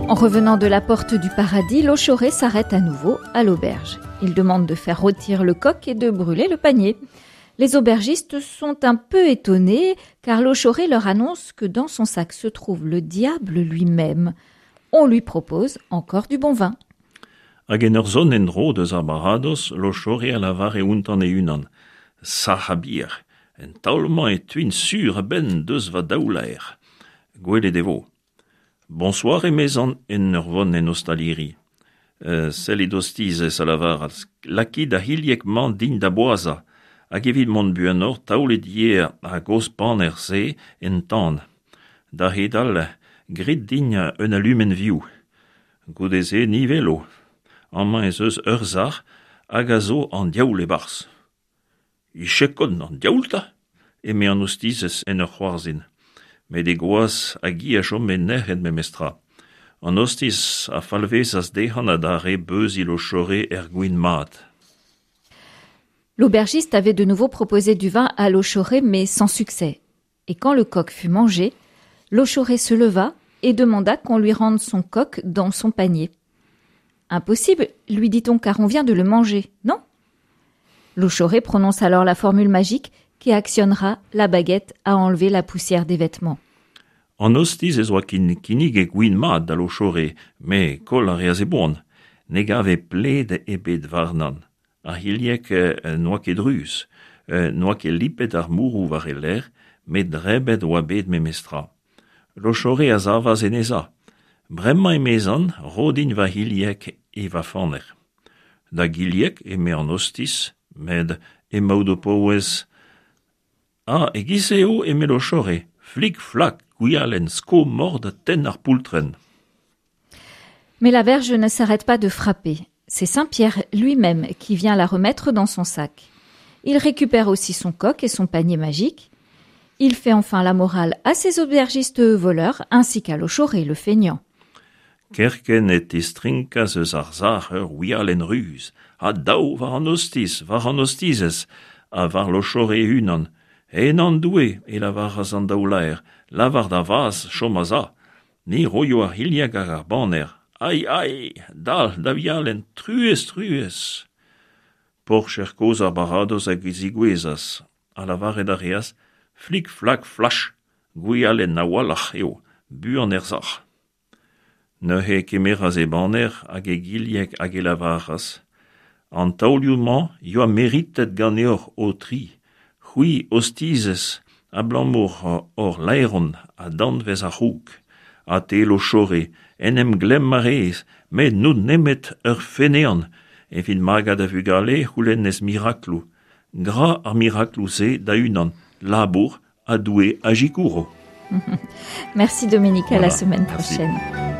En revenant de la porte du paradis, Lochoré s'arrête à nouveau à l'auberge. Il demande de faire rôtir le coq et de brûler le panier. Les aubergistes sont un peu étonnés car Lochoré leur annonce que dans son sac se trouve le diable lui-même. On lui propose encore du bon vin. Hag en ur zont en-dro deus ar baradoz, Lochore a lavare ountan e-unan, Sac'h ha bier, en taol-mañ e tuin sur a-benn deus va daou laer. Gwelet e vo. Bonsoir, emezan en ur vont en ostaliri. Sellit ostizez, a lavaras, lakit ar c'hilheg-mañ din da boazhañ, hag evit mont buanoc'h taolit ivez ar gozh paner-se en tan. Da c'hedal, grit din un alumenn vioù. Goude-se ni 'welo. Amañ ez eus ur sac'h hag a zo an diaoul e-barzh. Ichekon an diaoul 'ta ! eme an ostizez en ur c'hoarzhin. Met he gwaz hag hi a chome nec'het memestra. An ostiz a falvezas dezhañ adarre beuziñ Lochore er gwin mat. L'aubergiste avait de nouveau proposé du vin à Lochoré, mais sans succès. Et quand le coq fut mangé, Lochoré se leva et demanda qu'on lui rende son coq dans son panier. Impossible, lui dit-on, car on vient de le manger, non Lochoré prononce alors la formule magique qui actionnera la baguette à enlever la poussière des vêtements. An ostiz ez oa kinniget gwin mat da Lochore, met koll a reas e boan. Ne gave pled ebet warnan. Ar c'hilheg n'oa ket druz, n'oa ket lipet ar mourroù war e lerc'h, met drebet oa bet memestra. Lochore a savas en e za. Bremañ, emezan, ro din va c'hilheg e va faner. Da gilheg, eme an ostiz, met emaout o paouez. Ah, e-giz-se eo, eme Lochore, flik-flak, gwialenn, sko mort ha tenn ar poultrenn. Mais la verge ne s'arrête pas de frapper. C'est Saint Pierre lui-même qui vient la remettre dans son sac. Il récupère aussi son coq et son panier magique. Il fait enfin la morale à ses aubergistes voleurs ainsi qu'à Lochoré le feignant. Kerkent e tistrinkas eus ar sac'h ur wialenn ruz, ha dav war an ostiz, war an ostizez, ha war Lochore e-unan. En an' Doue, e lavaras an daou laer, lavar da vazh chom a-za. Ni roio ar c'hilhag hag ar baner. Ai, ai, dal, da wialenn, truez, truez! Porcher kozh ar baradoz a zigouezhas, ha lavaret a reas flik-flak flach, gwialenn a-walc'h eo, buan er sac'h. Neuze e kemeras e baner hag e gilheg hag e lavaras An taolioù-mañ yoa meritet ganeoc'h ho-tri, c'hwi ostizez, abalamour hor laeron ha danvez ar c'houg. Ha te, Lochore, en em glemm a rez, met n'out nemet ur feneant. Evit magañ da vugale e c'houlennez mirakloù. Gra ar mirakloù-se da-unan, labour ha Doue a sikouro. Merci Dominique, à la semaine prochaine.